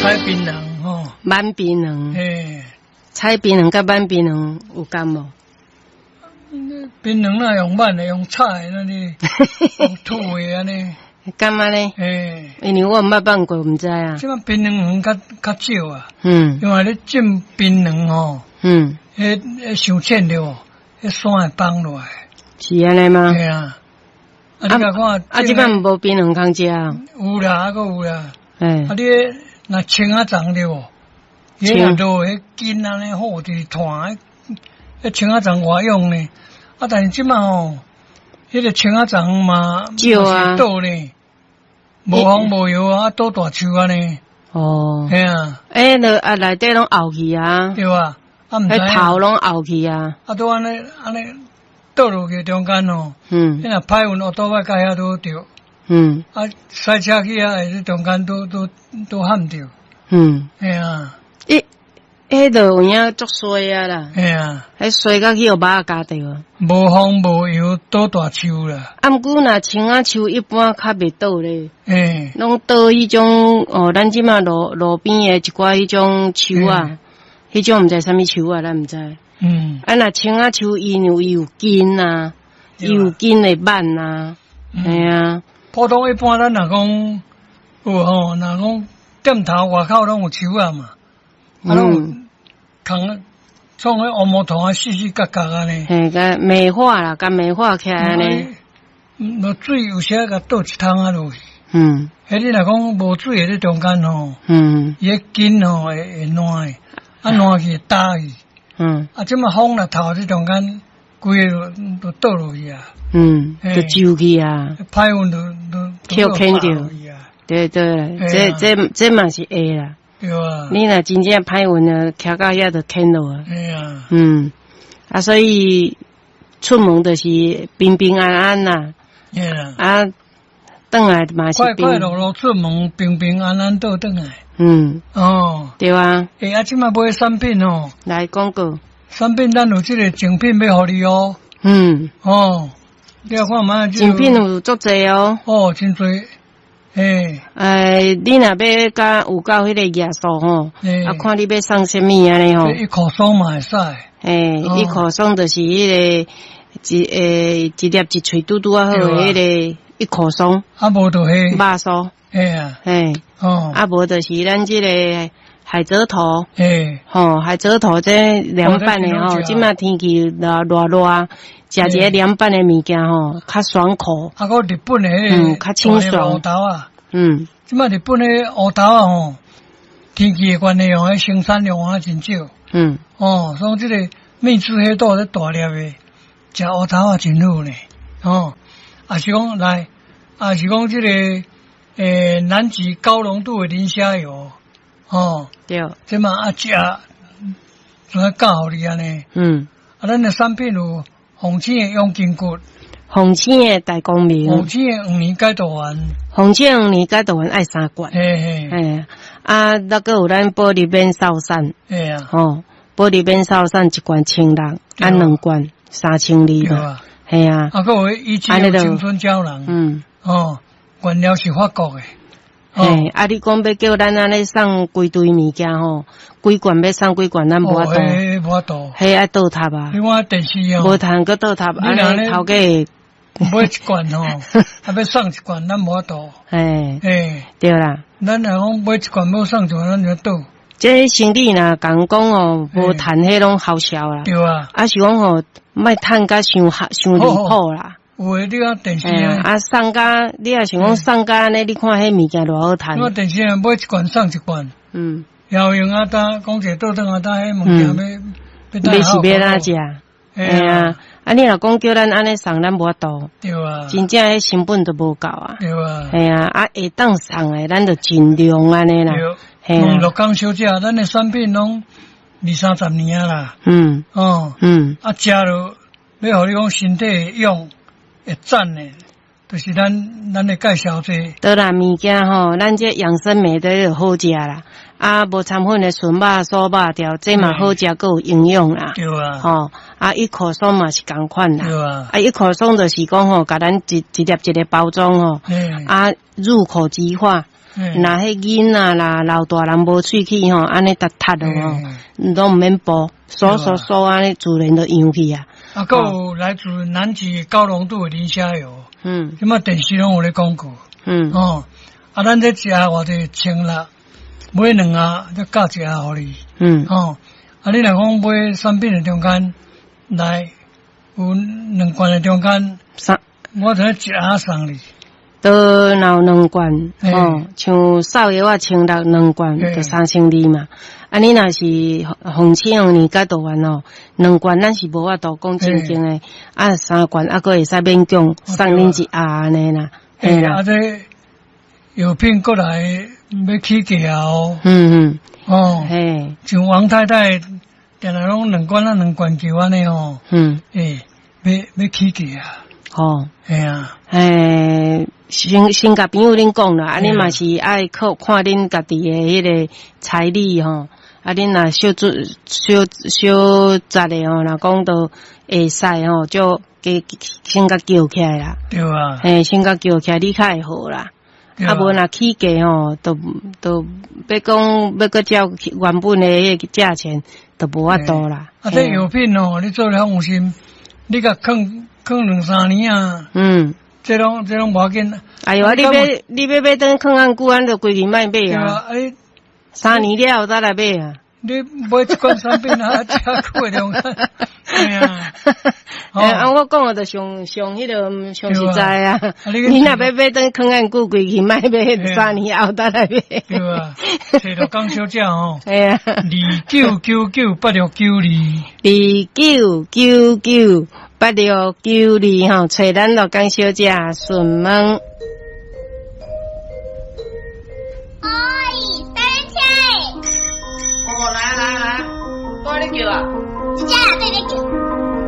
採檳榔吼，挽檳榔，嘿，採檳榔佮挽檳榔有仝無？檳榔若用挽的，用炒的，那你用吐的按呢？敢按呢？嘿，因為我毋捌挽過，毋知啊。這擺檳榔園較較少啊，因為咧種檳榔吼，彼彼傷淺著無，彼山會崩落來。是按呢嗎？嘿啊，啊你共看，啊，這擺無檳榔通食啊？有啦，猶閣有啦。嘿啊，你若青仔欉著無？伊若落彼根按呢好，就是團，彼青仔欉偌用呢？啊，但是這擺吼，彼個青仔欉嘛，少啊，倒呢，無風無雨啊，倒大樹按呢。哦。嘿啊。欸，落啊內底攏沤去啊。對啊，啊毋知。彼頭攏沤去啊。啊，都按呢按呢倒落去中間吼。你若歹運，烏倒擺共遐拄著。啊，駛車去遐，會中間拄拄拄譀著。嘿啊。欸，彼就有影足衰啊啦。嘿啊。彼衰甲去予貓仔咬著。無風無雨倒大樹啦。啊，毋過若青仔樹一般較袂倒咧。嘿。攏倒彼種哦，咱這馬路路邊的一寡彼種樹啊，彼種毋知啥物樹啊，咱毋知。啊，若青仔樹伊因為伊有根啊，伊有根會挽啊，嘿啊。普通一般咱若講有吼，若講店頭外口攏有樹仔嘛，啊攏有空創彼烏毛塗啊，四四角角按呢。嘿，共美化啦，共美化起來按呢。落水有時共倒一桶仔落去。彼你若講無水的咧中間吼，伊彼根吼會會爛的，啊爛去會焦去。啊，這馬風若透這中間，規个就倒落去啊。就皺去啊。歹運就就去牽著。對對，這這這嘛是會啦。對啊。你若真正歹運啊，徛到遐就牽落啊。嘿啊。啊，所以出門就是平平安安啦。嘿啦。啊，轉來嘛是快快樂樂出門，平平安安倒轉來。哦。對啊。欸，啊，這馬買產品哦。來廣告。產品咱有這個贈品欲予你哦。哦，你來看覓？贈品有足濟哦。哦，真濟。欸。哎，你若欲佮有夠彼個頁數吼，啊，看你欲送啥物按呢吼。一口爽嘛會使。欸，一口爽就是彼個一欸一粒一喙拄拄仔好的彼個一口爽。啊，無就彼肉酥。嘿啊。嘿。哦。啊，無就是咱這個海蜇頭。嘿。吼，海蜇頭這涼拌的吼，這馬天氣熱熱熱，食一个涼拌的物件吼，較爽口。啊，閣日本的較清爽。烏豆仔。這馬日本的烏豆仔吼，天氣的關係吼，彼生產量啊真少。哦，所以這個蜜汁黑豆咧大粒的，食烏豆仔真好呢。哦，啊是講來，啊是講這個南極高濃度的磷蝦油，哦，這馬啊食，怎啊教予你按呢？啊，咱的產品有鳳青的養筋骨，鳳青的大光明，鳳青的黃連解毒丸，鳳青黃連解毒丸愛三罐，嘿嘿，嘿，啊，那閣有咱保利免瘦散，嘿啊，吼，保利免瘦散一罐千六，啊兩罐3200嘛，嘿啊，啊，閣有以前青春膠囊，哦，原料是法國的。嘿，啊！你講欲叫咱按呢送規堆物件吼，幾罐欲送幾罐，咱無法度。無法度。彼愛倒塔啊。你看電視哦。無通閣倒塔，按呢頭家買一罐吼，啊欲送一罐，咱無法度。嘿。嘿。對啦。咱若講買一罐欲送一罐，咱就倒。這生理若共講哦，無趁彼攏好笑啦。對啊。啊是講吼，莫趁甲傷傷離譜啦。有的你看電視啊，啊送甲你若想講送甲按呢，你看彼物件偌好趁。我電視啊，買一罐送一罐。遙用啊，呾講一個倒轉啊，呾彼物件欲欲是欲怎食？嘿啊，啊你若講叫咱按呢送，咱無法度。對啊。真正彼成本都無夠啊。對啊。嘿啊，啊會當送的，咱就盡量按呢啦。對。陸江小姐，咱的產品攏二三十年啊啦。哦。啊，食落欲予你講身體會勇。會讚的，就是咱咱的介紹這個。對啦，物件吼，咱這養生美的好食啦。啊，無摻粉的純肉、酥肉條，這嘛好食，閣有營養啦。對啊。吼，啊，一口爽嘛是仝款啦。對啊。啊，一口爽就是講吼，共咱一一粒一个包裝吼。啊，入口即化。若彼囡仔啦、老大人無喙齒吼，按呢沓沓落吼，攏毋免補，刷刷刷按呢自然就揚去啊。啊，閣有來自南極高濃度的磷蝦油，這擺電視攏有咧廣告，哦，啊，咱這一盒偌濟1600，買兩盒才加一盒予你，哦，啊，你若講買產品的中間來有兩罐的中間，三，我就一盒送你。都若有兩罐，哦，像瘦藥仔1600兩罐，就3200嘛。啊，你若是紅青紅年甲道元哦，兩罐咱是無法度講正經的，啊，三罐啊，閣會使勉強送恁一盒按呢啦。嘿啦，啊，這藥品過來欲起價哦。哦。嘿。像王太太，定定攏兩罐啊兩罐叫按呢哦。欸，欲起價啊。哦。嘿啊。欸，先共朋友恁講啦，啊，恁嘛是愛靠看恁家己的彼個財力吼，啊，恁若小做小小雜的吼，若講都會使吼，就加先共叫起來啦。對啊。嘿，先共叫起來，你較會好啦。啊，無若起價吼，都都欲講欲閣照原本的彼個價錢，都無法度啦。啊，這藥品哦，你做了放心，你共囥囥兩三年啊。這攏無要緊。哎喲，你欲買轉囥按久，按就規氣莫買啊。三年了後才來買啊。你買一罐產品啊，遮久的中間，嘿啊。啊，我講的就上上彼个上實在啊。你若欲買轉囥按久，規氣莫買，三年後才來買。對啊，揣鹿港小姐吼。嘿啊。29998692。 29998692吼，揣咱鹿港小姐順問。哎，等車。哦，來來來，我咧叫啊。姐姐，對咧叫。